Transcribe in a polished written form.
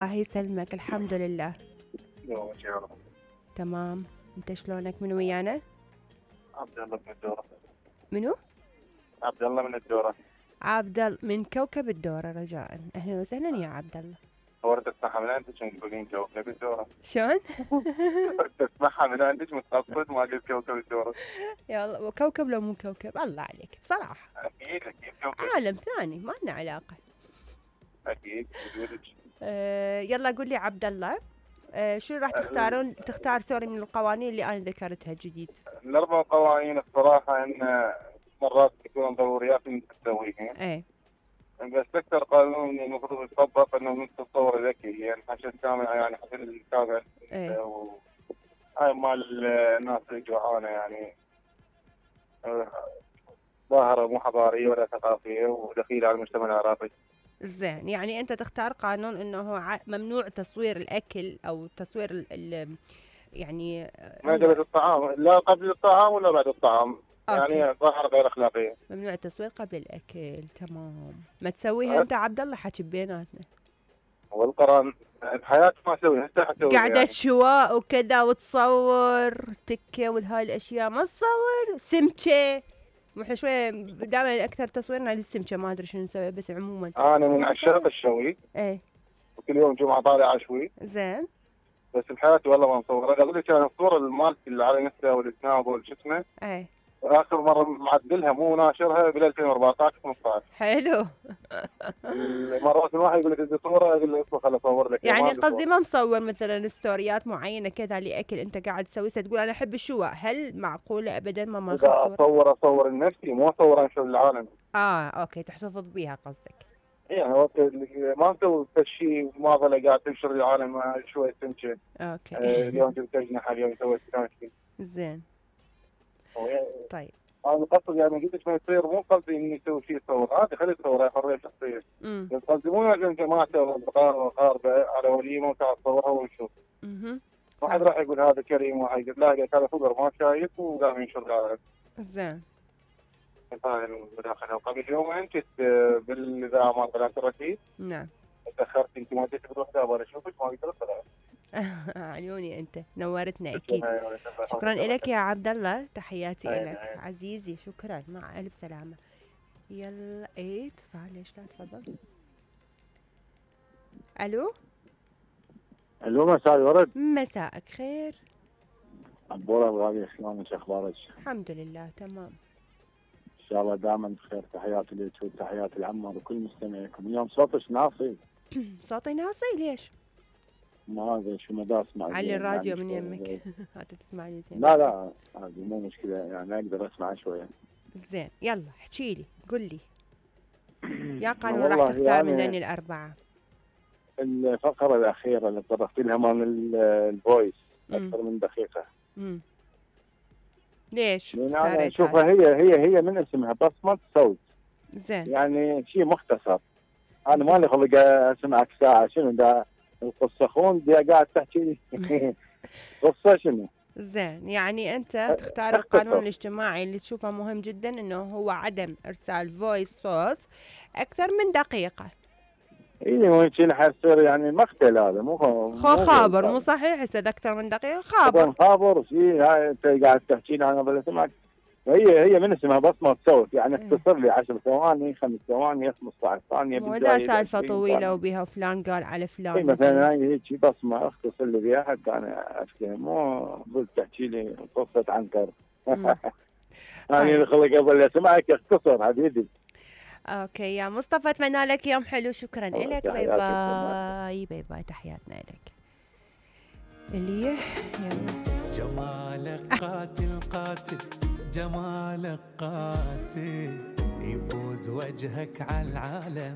الله يسلمك، الحمد لله يومك يا رب. تمام. انت شلونك؟ من ويانا؟ عبد الله من الدورة. منو؟ عبد الله من الدورة. عبد الله من كوكب الدورة، رجاء اهلا وسهلا يا عبد الله. ورد تسمعها من عندك تقولين كوكب الدورة. شلون؟ تسمعها من عندك متقصد ما قلت كوكب الدورة. يلا وكوكب لو مو كوكب الله عليك بصراحة. أكيد كوكب. عالم ثاني ما لنا علاقة. أكيد وجودك. يلا قول لي عبد الله، شو راح تختار سوري من القوانين اللي انا ذكرتها جديد؟ الأربع قوانين الصراحة إن مرات تكون ضروريات إنك تسويها. ايه بس أكثر قانون المفروض يطبق إنه من التصور الذكي، يعني عشان كامل يعني عشان الكامل. ايه هاي مال الناس اللي جوعانة يعني ظاهرة مو حضارية ولا ثقافية ودخيلة على المجتمع العراقي. زين، يعني انت تختار قانون انه ممنوع تصوير الاكل او تصوير يعني معدل الطعام لا قبل الطعام ولا بعد الطعام. أوكي. يعني ظاهرة غير أخلاقية. ممنوع التصوير قبل الاكل، تمام. ما تسويها انت عبد الله، حكي بيناتنا. والقران بحياتي ما اسويها، هسه حسويها قعدة يعني. شواء وكذا وتصور تكه وهاي الاشياء ما تصور سمكه. واحنا شويه دائما اكثر تصويرنا للسمكه، ما ادري شنو نسوي بس عموما. انا من عشاق الشوي. ايه وكل يوم جمعه طالع اشوي. زين. بس بحياتي والله ما مصور. اقول لك انا الصوره المالتي اللي على انستا والسناب والشو اسمه. ايه اخر مره معدلها مو ناشرها بال 2014 15. حلو. مرات الواحد يقول لك بدي صوره، اقول له اصبر خل اصور لك. يعني قصدي ما مصور مثلا ستوريات معينه كذا لاكل انت قاعد تسوي، تقول انا احب الشواء، هل معقوله ابدا ما ماخذ صور؟ اصور لنفسي مو اصور انشر للعالم. اوكي، تحتفظ بيها قصدك. يعني وقت ما نسوي شيء ما ظل قاعد تنشر للعالم شويه سمكه. اوكي. اليوم جبت اجنحه، اليوم سويت كانشي. زين. طيب انا قصدي يعني قلت ما يصير، مو قصدي اني اسوي شيء صور، عادي خلي تصور، هاي حريه شخصيه. بس قصدي مو عشان جماعته واصدقائه واقاربه على وليمه وتعال تصورها ونشوف. واحد راح يقول هذا كريم، واحد يقول لا هذا فقر ما شايف وقام ينشر العالم. زين. هاي المداخله. وقبل يومين كنت بالاذاعه مال قناه الرشيد. نعم. تاخرت انت ما جيت بروح ابغى اشوفك ما قدرت اطلع. عيوني انت نورتنا اكيد. شكرا لك يا عبد الله، تحياتي لك عزيزي، شكرا، مع الف سلامه. يلا ايه اتصال، ليش لا؟ تفضل. الو مساء الورد. مساءك خير. عبورة الغالية، شلونك؟ اخبارك؟ الحمد لله تمام. ان شاء الله دائما بخير. تحياتي لك وتحياتي العمر وكل مستمعيكم. اليوم صوتك ناصي. صوتي ناصي ليش؟ ما ادري شو مدى اسمع. علي الراديو من يمك. هات تسمعني زين. لا هذه مو مشكلة، يعني اقدر اسمع شوية. زين يلا احكي لي، قل لي يا قانون راح تختار يعني من الاربعة. الفقرة الأخيرة اللي طرقت لها مال الفويس أكثر من دقيقة. ليش؟ لأن أنا أشوفها هي من اسمها بصمة صوت. زين. يعني شيء مختصر. أنا مالي خلق أسمعك ساعة، شنو ده القصة خون دي قاعد تحكي قصة شنو؟ زين، يعني أنت تختار القانون الاجتماعي اللي تشوفه مهم جدا، إنه هو عدم إرسال فويس صوت أكثر من دقيقة. اي ممكن حيصير يعني مقتل، هذا مو خابر، مو صحيح. هسه اكثر من دقيقه خابر شيء. هاي انت قاعد تحكي لي انا بلا سمعك. هي من اسمها بصمه صوت، يعني اختصر لي 10 ثواني 5 ثواني 15 ثانيه. ودا سالفه طويله وبها فلان قال على فلان. مثلا هاي هيك بصمه اختصر لي بها حتى انا افهم، مو قلت تحكي لي قصه عنتر. يعني خلق قبل اسمعك اختصر حبيبي. اوكي يا مصطفى، اتمنى لك يوم حلو. شكرا لك. باي باي. باي باي. تحياتنا لك. اللي يلا. جمالك قاتل قاتل، جمالك قاتل، يفوز وجهك على العالم.